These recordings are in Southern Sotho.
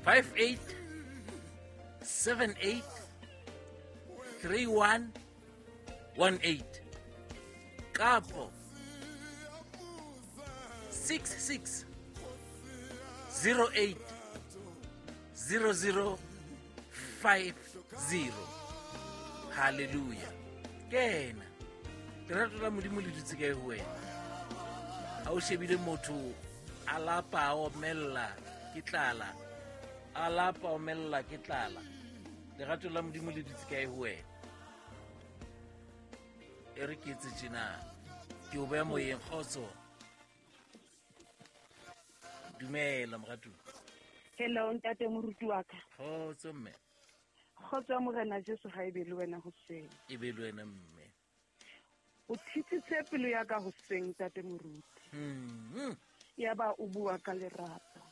58 78 31 18 kapo 66 08 00 50. Halleluja. Kena lerato la Modimo le dutse kae ho wena? Ha o shebile motho a lapa a omella ke tlala, a lapa omella ke tlala, lerato la Modimo le dutse kae ho wena? E re ke etse tjena, ke o beha moyeng. Kgotso, dumela moratuwa. Hello ntate moruti wa ka. Kgotso mme. Kgotso ya Morena Jesu ha e be le wena hoseng. E be le wena mme. O thitsitse pelo ya ka hoseng ntate moruti. Ya ba o bua ka lerato.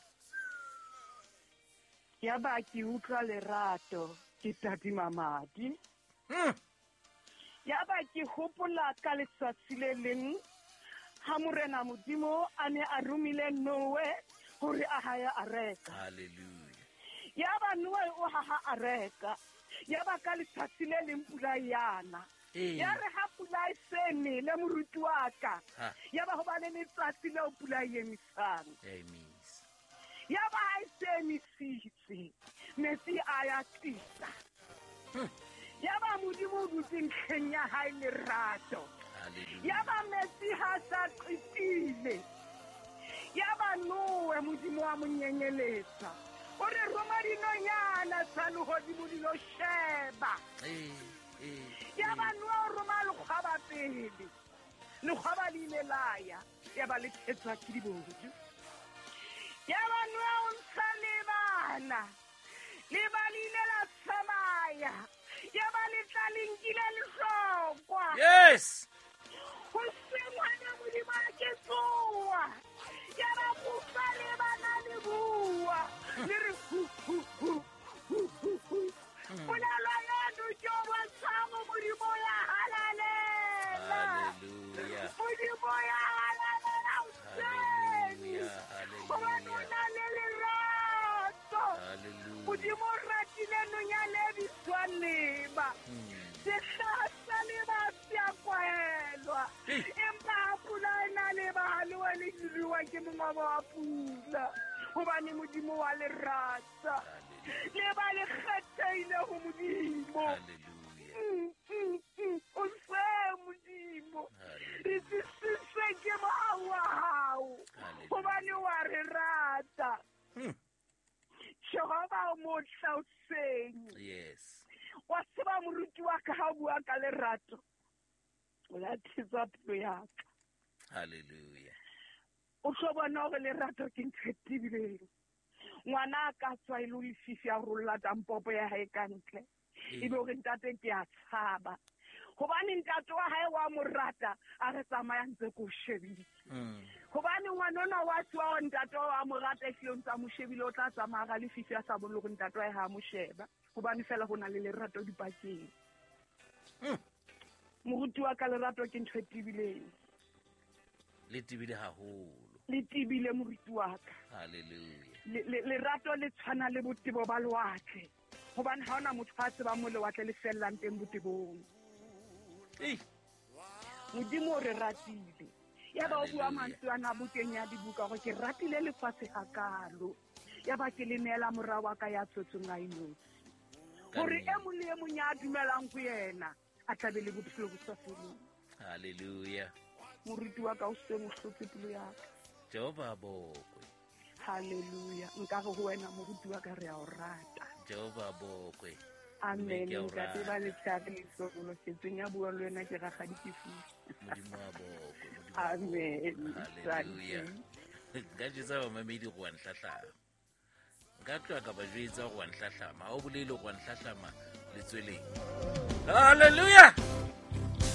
Ya ba ke utlwa lerato, ke tadima madi. Ya ba ke hopola ka letsatsi le leng ha Morena Modimo a ne a romile Noe hore a haye areka. Hallelujah. Ya ba Noe o haha areka. Ya ba ka letsatsi le leng pula yana. Ya re ha pula e se nele moruti wa ka. Ya ba ho ba le letsatsi leo pula e emisang. Ya ba ha e se emisitse, metsi a ya tlisa. Ya ba Modimo o dutse ntlheng ya hae lerato. Ya ba metsi ha sa qetile. Ya ba Noe Modimo wa mo nyenyeletsa. O re roma dinonyana tsa lehodimo di lo sheba. Ya ba Noe o roma lekgwaba pele. Lekgwaba le ile la ya. Ya ba le thetswa ke dibodu. Ya ba Noe o ntsha lebana. Leba le ile la tsamaya. Ya ba le tla le nkile lehlokwa. Yes. Ho se ngwana Modimo a ke tsoa. Ya ba kutlwa le bana le bua. Le re hu hu hu hu hu hu. Polelo eno ke o bontshang Modimo ya halalela. Hallelujah. Modimo ya halalela hoseng. Hobane o na le lerato. Modimo o ratile nonyana e bitswang leba. Sehlaha sa leba se a kwahelwa. Empa ha pula e na leba ha le wele le ke mongobo wa pula. Hobane Modimo wa le rata. Leba le kgethehile ho Modimo. O se Modimo. Re tsisitswe ke mohau wa hao. Hobane wa re rata. Jehova o motle hoseng. Yes. Wa tseba moruti wa ka ha o bua ka lerato. O la thetsa pelo ya ka. Hallelujah. O tlo bona hore lerato ke ntho e tebileng. Ngwana a ka tswa e le lefifi a rolla tampopo ya hae ka ntle. Ebe hore ntate ke a tshaba. Hobane ntate wa hae wa mo rata, a re tsamaya ntse ko shebile. Hobane ngwana ona wa tswa hore ntate wa mo rata, ehlile o ntse a mo shebile, o tla tsamaya ka lefifi a sa bone hore ntate wa hae ha a mo sheba. Hobane fela ho na le lerato dipakeng. Moruti wa ka, lerato ke ntho e tebileng. Le tebile haholo. Le tebile moruti wa ka. Hallelujah. Lerato le tshwana le botebo ba lewatle. Hobane ha hona motho a tsebang mo lewatle le fellang teng botebong. Modimo o re ratile. Ya ba o bua mantswe ana bukeng ya dibuka hore ke ratile lefatshe hakalo. Ya ba ke le neela mora wa ka ya tswetsweng a inotshi. Hore e mong le e mong ya dumelang ho yena a tla be le bophelo bo sa feleng. Hallelujah. Moruti wa ka o se mo hlotse pelo ya ka. Jehova bokwe. Hallelujah. Nka re ho wena moruti wa ka re a o rata. Jehova bokwe. Amen. Ntate ba letshare le hlohonolofetseng ya bua le wena ke rakgadi ke fusi. Modimo wa bokwe. Amen. Hallelujah. Nka jwetsa bamamedi go wa nhlahlama. Nka tloha ka ba jwetsa go wa nhlahlama. Ha o bolele go wa nhlahlama letsweleng. Hallelujah.